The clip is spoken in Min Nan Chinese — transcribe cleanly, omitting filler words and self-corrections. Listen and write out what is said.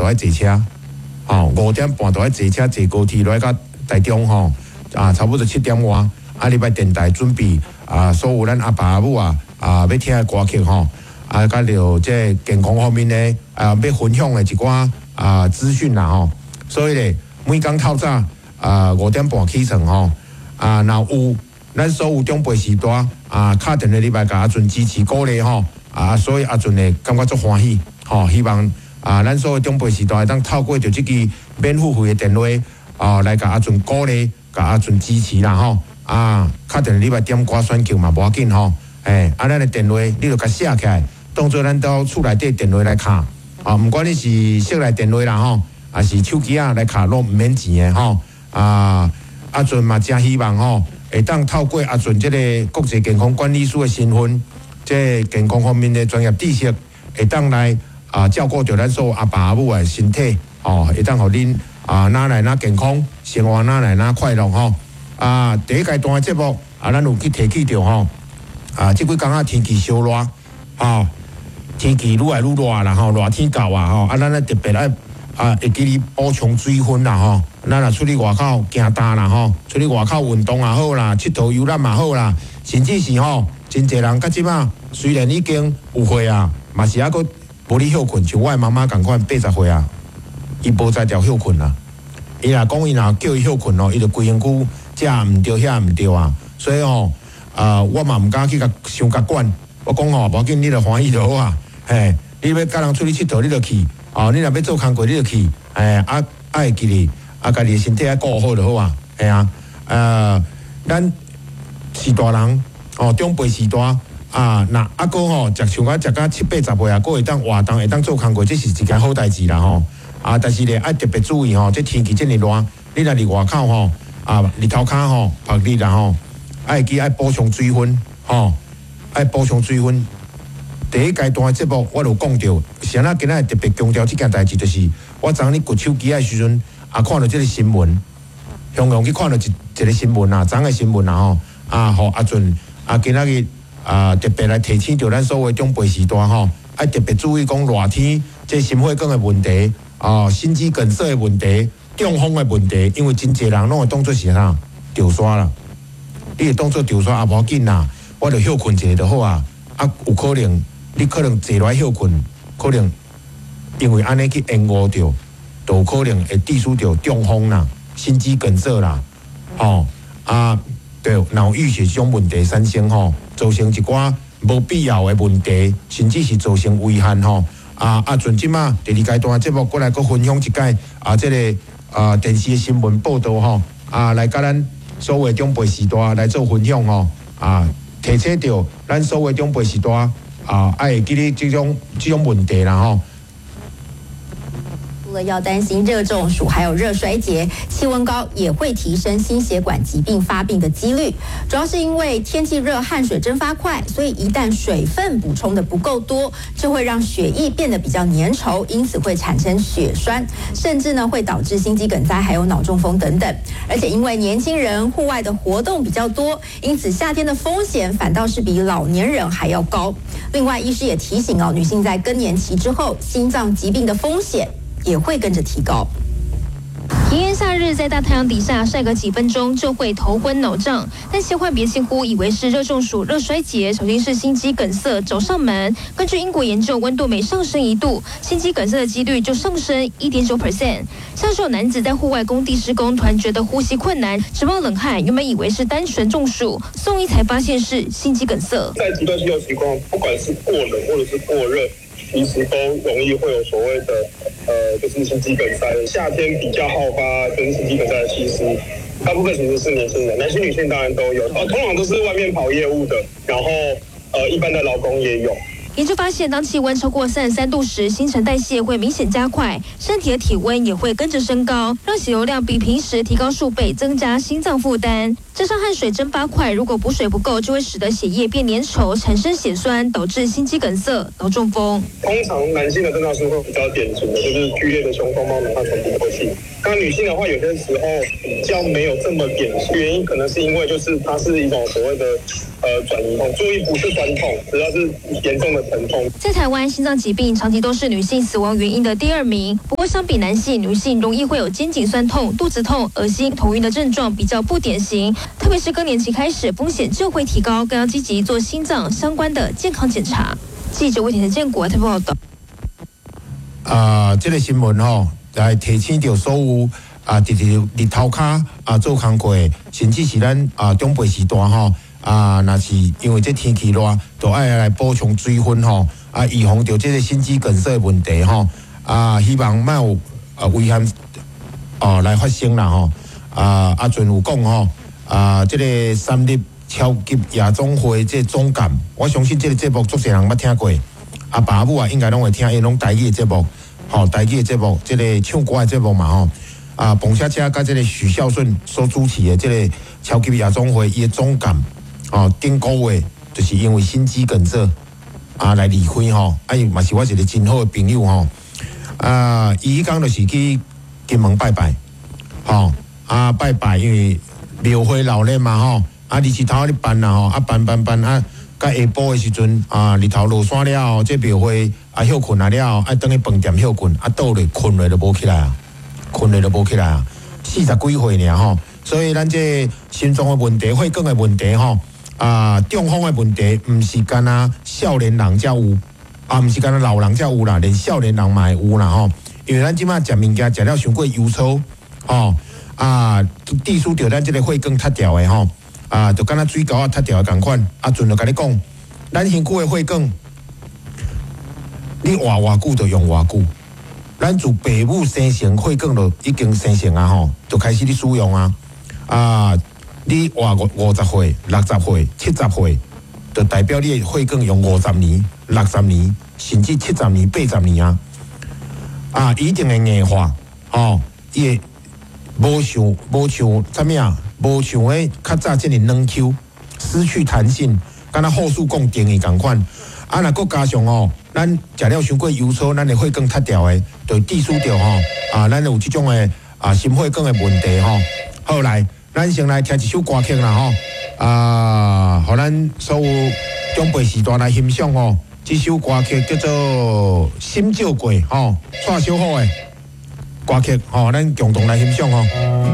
就愛坐車，吼，五點半就愛坐車坐高鐵來到台中吼，啊，差不多七點外，啊，入來電台準備啊，所有咱阿爸阿母啊，啊，欲聽的歌曲吼，啊，佮著這個健康方面的啊，欲分享的一寡啊資訊啦吼，所以咧，每工透早啊五點半起床吼，啊，若有咱所有長輩序大啊，敲電話入來共阿俊支持鼓勵吼，啊，所以阿俊會感覺足歡喜吼，希望啊，咱所有長輩序大會當透過著這支免付費的電話啊，來共阿俊鼓勵，共阿俊支持啦吼，啊，敲電話入來點歌選曲嘛無要緊吼，欸，啊，咱的電話你著共寫起來，當做咱兜厝內底電話來敲，啊，毋管你是室內電話啦吼，抑是手機仔來敲攏毋免錢的吼，啊，阿俊嘛誠希望吼，會當透過阿俊這个國際健康管理師的身份，這个健康方面的專業知識，會當來啊照顧著咱所有阿爸阿母的身體，吼，會當予恁啊哪來哪健康，生活哪來哪快樂吼。啊，第一階段的節目啊，咱有去提起著吼，啊，這幾工仔天氣燒熱，吼，天氣愈來愈熱啦吼，熱天到啊吼，啊，咱咧特別愛啊，會記得補充水分啦吼。咱若出去外口行踏啦吼，出去外口運動也好啦，𨑨迌遊覽嘛好啦，甚至是吼，真濟人到這馬雖然已經有歲啊，嘛是猶閣無咧歇睏，像我的媽媽仝款80歲啊，伊無才調歇睏啦。伊若講伊若叫伊歇睏哦，伊就規身軀這毋對遐毋對啊。所以吼，啊，我嘛毋敢去共傷共管。我講吼，無要緊，你著歡喜就好啊。嘿，你欲佮人出去𨑨迌，你就去。哦，你若欲做工課，你就去。嘿，啊，啊會記得，啊，家己的身體愛顧好就好啊。嘿啊，咱是大人，哦，長輩序大啊，若猶閣吼，食像我食甲七八十歲啊，閣會當活動，會當做工課，這是一件好代誌啦吼。啊，但是咧愛特別注意吼，這天氣這麼熱，你若佇外口吼，啊，日頭跤吼，曝日啦吼，愛記愛補充水分吼，愛補充水分。第一階段的節目，我就講著，啥物今仔日特別強調這件代誌，就是我昨昏衢手機的時陣，啊，看著這个新聞，雄雄去看著一一个新聞啊，昨的新聞啊吼，啊，予阿俊啊，今仔日啊特別來提醒著咱所有長輩序大吼，愛特別注意講熱天這心血管的問題，啊，心肌梗塞的問題，中風的問題，因為真濟人攏會當做是啥著沙啦，你會當做著沙也無要緊啦，我著歇睏一下就好啊，啊，有可能。你可能坐落來歇睏，可能因為按呢去延誤著，就有可能會致使著中風啦、心肌梗塞啦，吼啊，對腦溢血這種問題產生吼，造成一寡無必要的問題，甚至是造成遺憾吼。啊啊，陣這馬第二階段節目過來閣分享一擺啊，這个啊電視的新聞報道吼，啊來佮咱所有長輩序大來做分享吼，啊提醒著咱所有長輩序大。啊，愛會記得這種問題啦吼。除了要擔心熱中暑，還有熱衰竭，氣溫高也會提升心血管疾病發病的幾率。主要是因為天氣熱，汗水蒸發快，所以一旦水分補充的不夠多，就會讓血液變得比較粘稠，因此會產生血栓，甚至呢會導致心肌梗塞，還有腦中風等等。而且因為年輕人戶外的活動比較多，因此夏天的風險反倒是比老年人還要高。另外，醫師也提醒哦，女性在更年期之後，心臟疾病的風險也會跟着提高。炎炎夏日，在大太陽底下曬個幾分鐘就會頭昏腦脹，但千萬別輕忽，以為是熱中暑、熱衰竭，小心是心肌梗塞找上門。根據英國研究，溫度每上升1度，心肌梗塞的幾率就上升1.9%。像是有男子在戶外工地施工，突然覺得呼吸困難，直冒冷汗，原本以為是單純中暑，送醫才發現是心肌梗塞。在極端氣候情況，不管是過冷或者是過熱，其實都容易會有所謂的，就是心肌梗塞。夏天比較好發跟心肌梗塞的，其實大部分其實是年輕人，男性、女性當然都有。通常都是外面跑業務的，然後一般的勞工也有。研究發現，當氣溫超過33度時，新陳代謝會明顯加快，身體的體溫也會跟着升高，讓血流量比平時提高數倍，增加心臟負擔。加上汗水蒸發快，如果補水不夠，就會使得血液變粘稠，產生血栓，導致心肌梗塞、腦中風。通常男性的症狀是會比較典型的，就是劇烈的胸痛、冒冷汗、喘不過氣。那女性的話，有些時候比較沒有這麼典型，原因可能是因為就是它是一種所謂的轉移痛，注意不是酸痛，主要是嚴重的疼痛。在台灣，心臟疾病長期都是女性死亡原因的第二名。不過相比男性，女性容易會有肩頸痠痛、肚子痛、噁心、頭暈的症狀，比較不典型。特別是更年期開始，風險就會提高，更要積極做心臟相關的健康檢查。記者魏田的建國台報道。啊，這個新聞吼，來提醒著所有啊，佇佇日頭跤啊做工課，甚至是咱啊長輩時代吼啊，若是因為這天氣熱，就愛來補充水分吼，啊，預防著這個心肌梗塞的問題吼，啊，希望莫有啊危險哦來發生啦吼，啊，阿陣有講吼，啊，這個三立超級夜總會這個總監，我相信這個節目足濟人捌聽過，阿爸阿母啊應該攏會聽，𪜶攏台語的節目，吼，台語的節目，這個唱歌的節目嘛吼，啊，彭恰恰佮這個許孝順所主持的這個超級夜總會，伊的總監，哦，頂個月就是因為心肌梗塞啊來離開吼，啊，伊嘛是我一個真好的朋友吼，啊，伊彼工就是去金門拜拜，吼，啊拜拜，因為廟會鬧熱嘛吼，啊日頭咧辦啦吼，啊辦辦辦啊，到下晡的時陣啊，日頭落山了後，這廟會啊歇睏啊了後，愛轉去飯店歇睏，啊倒落睏落就無起來啊，睏落就無起來啊，四十幾歲爾吼，所以咱這心臟的問題、血管的問題吼，啊中風的問題，毋是干焦少年人才有，啊毋是干焦老人才有啦，連少年人嘛會有啦吼，因為咱這擺食物件食了傷過油粗，吼。啊，致使著咱這個血管塌掉的吼，啊，就敢若水溝仔塌掉的仝款。啊，陣就共你講，咱身軀的血管，你活偌久就用偌久。咱自爸母生成，血管就已經生成啊吼，就開始咧使用啊。啊，你活50歲、60歲、70歲，就代表你的血管用50年、60年，甚至70年、80年啊。啊，一定會硬化，吼，伊會。無像無像啥物啊？無像彼較早這爾軟 Q，失去彈性，敢若護士講定的仝款。啊，若閣加上哦，咱食了傷過油粗，咱的血管塌掉的，就致使著吼啊，咱有這種的啊心血管的問題吼。好來，咱先來聽一首歌曲啦吼，啊，予咱所有長輩時代來欣賞吼。這首歌曲叫做《心照過》吼，蔡小虎的歌曲吼，咱共同來欣賞吼。